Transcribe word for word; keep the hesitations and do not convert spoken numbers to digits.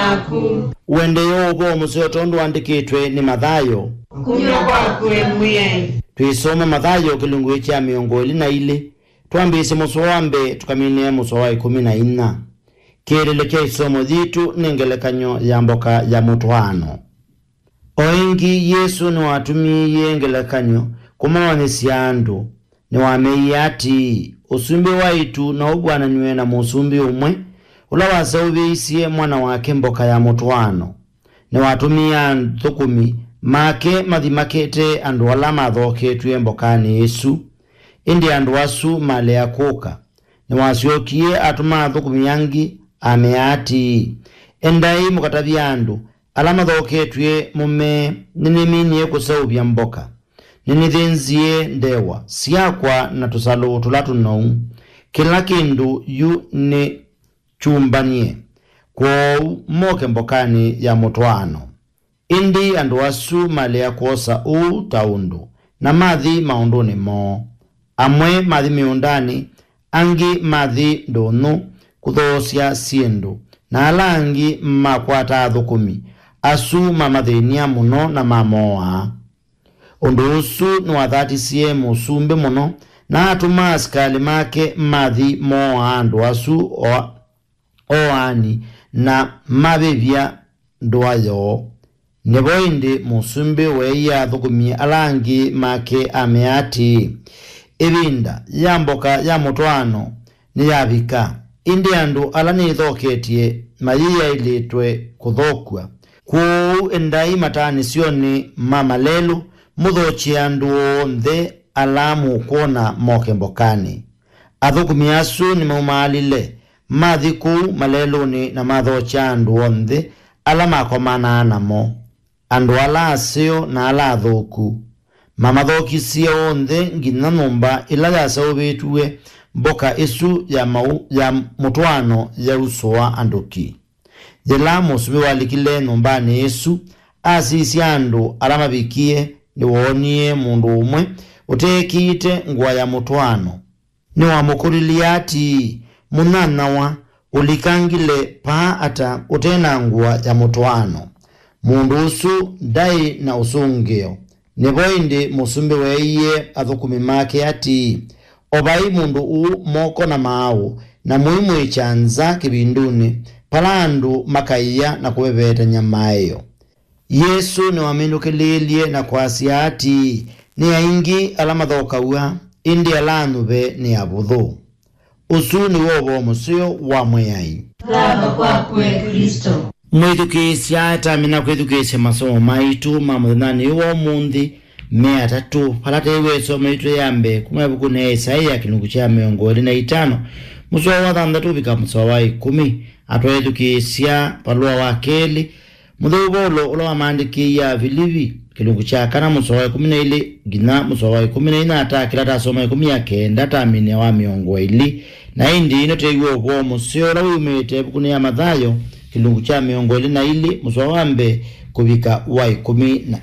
maku. Ũendee ũvoo mũseo tondũ wandĩkĩtwe nĩ Mathayo. Kumya kwaku, e Mwĩai. Twĩsoma Mathayo kĩlungu kya mĩongo ĩlĩ na ilĩ, twambĩĩsye mũsoa wa mbee tũkaminĩe mũsoa wa ĩkũmi na inya. Kĩĩlĩlo kya ĩsomo yitũ nĩ ngelekany'o ya mboka ya mũtwaano. O ĩngĩ, Yesũ nĩwatũmĩie ngelekany'o kũmawanyĩsya andũ. Nĩwameie atĩĩ, ũsumbĩ wa ĩtu no ũvw'ananw'e na mũsumbĩ ũmwe ũla waseũvĩisye mwana wake mboka ya mũtwaano. Nĩwatũmie athũkũmi make mathi makete andũ ala mathooketw'e mbokanĩ ĩsu. Ĩndĩ andũ asu malea kũka. Nĩwasyokie atũma athũkũmi angĩ, amea atĩĩ, endai mũkatavye andũ ala mathooketw'e mũmee, nĩnĩminie kũseũvya mboka. Nĩnĩthĩnzie ndewa syakwa na tũsalũ tũla tũnou. Kĩla kĩndũ yu nĩ kyumbanie. Kwoou moke mbokanĩ ya mũtwaano. Ĩndĩ andũ asu malea kwosa ũu ta ũndũ, na mathi maũndũnĩ moo. Amwe mathi mĩũndanĩ, angĩ mathi ndũnyũ kũthoosya syĩndũ, na ala angĩ makwata athũkũmi asu mamathĩny'a mũno na mamooaa. Ũndũ ũsu nĩwathatisye mũsumbĩ mũno, na atũma asikalĩ make mathi mooaa andũ asu o-, oaani na mavĩvya ndũa yoo. Nĩvo ĩndĩ mũsumbĩ weeie athũkũmi ala angĩ make amea atĩĩ, ĩvinda ya mboka ya mũtwaano nĩyavika, ĩndĩ andũ ala nĩthoketye mayĩyaĩlĩtwe kũthokw'a. Kwoou endai mataanĩsyonĩ ma malelũ, mũthokye andũ onthe ala mũkwona moke mbokanĩ. Athũkũmi asu nĩmaumaalile, mathi kũu malelũnĩ na mathokya andũ onthe ala makomanaa namo, andũ ala aseo na ala athũku. Mamathokisye onthe nginya nyũmba ĩla yaseũvĩtw'e mboka ĩsu ya mau-, ya mũtwaano yausũa andũ ki. Yĩla mũsumbĩ walikile nyũmbanĩ ĩsu, asisya andũ ala mavikie, nĩwoonie mũndũ ũmwe ũteekĩĩte ngũa ya mũtwaano. Nĩwamũkũlilye atĩĩ, mũnyanyawa, ũlikangile paa ata ũte na ngũa ya mũtwaano? Mũndũ ũsu ndaĩ na ũsũngĩo. Nĩvo ĩndĩ mũsumbĩ weeie athũkũmi make atĩĩ, ovai mũndũ ũũ moko na maaũ, na mũimwĩkya nza kĩvindunĩ, vala andũ makaĩa na kũvevetany'a maeo. Yesũ nĩwamĩnũkĩlĩĩlye na kwasya atĩĩ, nĩ aingĩ ala mathokaw'a, ĩndĩ ala anyuve nĩ avũthũ. Ũsu nĩw'o ũvoo mũseo wa Mwĩai. Thava kwaku, e Klĩsto. Mwĩthukĩĩsya, tamina kwĩthukĩĩsya masomo maitũ ma mũthenyanĩ ũyũ wa ũmũnthĩ me atatũ, vala teiwe ĩsomo yitũ ya mbee kuma ĩvukunĩ ya Isaia kĩlungu kya mĩongo ĩlĩ na itano, mũsoa wa thanthatũ ũvika mũsoa wa ĩkũmi. Atwaĩthukĩĩsya valũa wa kelĩ, mũtheu Vaulo ũla wamaandĩkĩie Avilivi, kĩlungu kya kana mũsoa wa ĩkũmi na ilĩ nginya mũsoa wa ĩkũmi na inya, ta kĩla tasoma ĩkũmi ya kenda taminĩa wa mĩongo ĩlĩ. Na ĩndĩ ĩno teiwe ũvoo mũseo ũla wĩumĩte ĩvukunĩ ya Mathayo, kĩlungu kya mĩongo ĩlĩ na ilĩ, mũsoa wa mbee kũvika wa ĩkũmi na